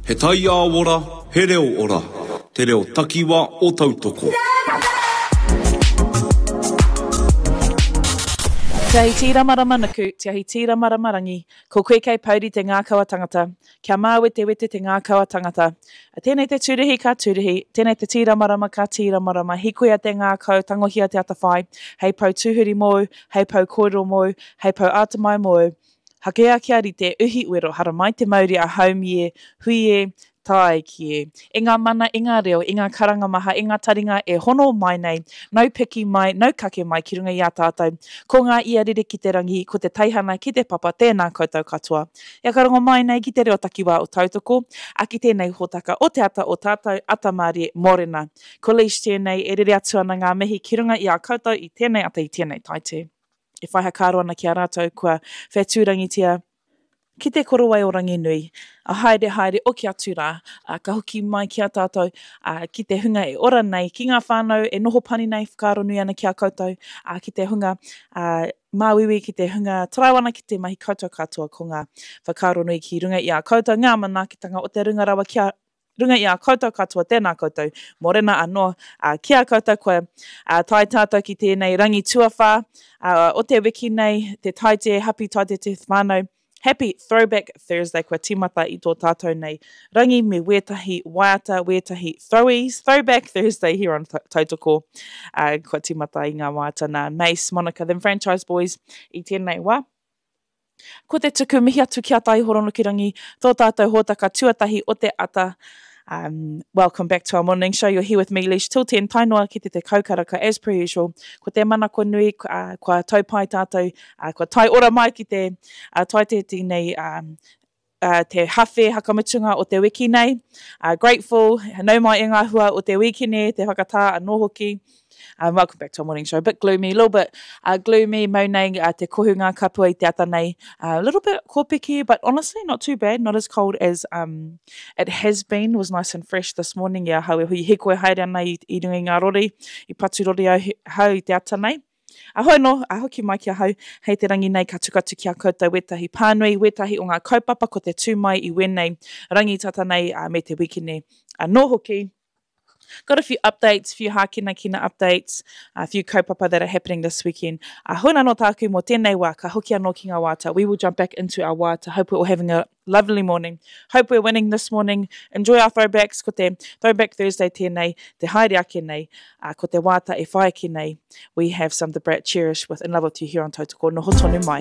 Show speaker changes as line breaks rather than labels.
He taiao ora, he reo ora, te reo takiwa o Tautoko.
Te ahi tīramarama nuku, te ahi tīramarama rangi, ko koe kei pouri te ngākau a tangata, kia māwetewete te ngākau a tangata. Tēnei te tūruhi ka tūruhi, tēnei te tīramarama ka tīramarama, hikoia te ngākau, tangohia te atawhai, hei pou tūhuri mōu, hei pou kōrero mōu, hei pou ātamai mōu, Hakea kia rite, uhi wero, haramai te mauri a haumi e, hui e, tāiki e. E ngā mana, e ngā reo, e ngā karanga maha, e ngā taringa e hono mai nei, nau piki mai, nau kake mai ki runga i a tātou. Ko ngā ia rere ki te rangi, ko te teihana ki te papa, tēnā koutou katoa. E whakarongo mai nei ki te reo takiwā o Tautoko, a ki tēnei hōtaka o te ata o tātou, Ata Mārie, Mōrena. Ko Leish tēnei, e rere atu ana ngā mihi ki runga i a koutou i tēnei ata i tēnei taite. e whai hakaaro ana ki a rātou kua whetūrangitia ki te korowai o Ranginui, a haere haere oki atu rā, a, ka hoki mai ki a tātou, a, ki te hunga e ora nei, ki ngā whānau e noho pani nei, whakaaro nui ana ki a koutou, a, ki te hunga a, māuiui, ki te hunga tarau ana ki te mahi koutou katoa, ko ngā whakaaro nui ki runga i a koutou, ngā manaakitanga o te runga rawa ki a runga i a koutou katoa, tēnā koutou, mōrena anō ā, ki a koutou kua ā, tae tātou ki tēnei rangi tuawhā ā, o te wiki nei, te Taite, Happy Taite te whānau, Happy Throwback Thursday kua tīmata i tō tātou nei rangi me wētahi waiata, wētahi throwies, Throwback Thursday here on Tautoko, ā, kua tīmata i ngā waiata nā Mace, Monica, The Franchise Boys i tēnei wā. Ko te tuku mihi atu ki a Taihoronukurangi, tō tātou hōtaka tuatahi o te ata. Um, welcome back to our morning show. You're here with me, Leash, till 10, tae noa ki te te kaukaraka, as per usual. Ko te manako nui, uh, kua taupai tātou, uh, kua tae ora mai ki te uh, taite tēnei um, uh, te hawhe hakamutunga o te wiki nei. Uh, grateful, nau mai e ngā hua o te wīkene, te whakatā anō hoki. Um, welcome back to our morning show. A bit gloomy, a little bit uh, gloomy, mau nei uh, te kohu ngā kapua i te ata nei. A uh, little bit kōpeke, but honestly not too bad, not as cold as um, it has been. Was nice and fresh this morning. I ahau e hui hikoi haere ana i, i runga i ngā rori, i patu rori au hau i te ata nei. Ahau anō, a hoki mai ki ahau, hei te rangi nei ka tuku atu ki a koutou wētahi pānui, wētahi o ngā kaupapa ko te tū mai i wēnei rangi tata nei me te wikene anō hoki. Got a few updates, few hākinakina updates, a few kaupapa that are happening this weekend. A huna anō tāku mō tēnei wā, ka hoki anō ki ngā wāta. We will jump back into our wāta. Hope we're all having a lovely morning. Hope we're winning this morning. Enjoy our throwbacks. Ko te Throwback Thursday tēnei, te haere ake nei, uh, ko te wāta e whai ake nei. We have some The Brat Cherish with In Love With You here on Tautoko. Noho tonu mai.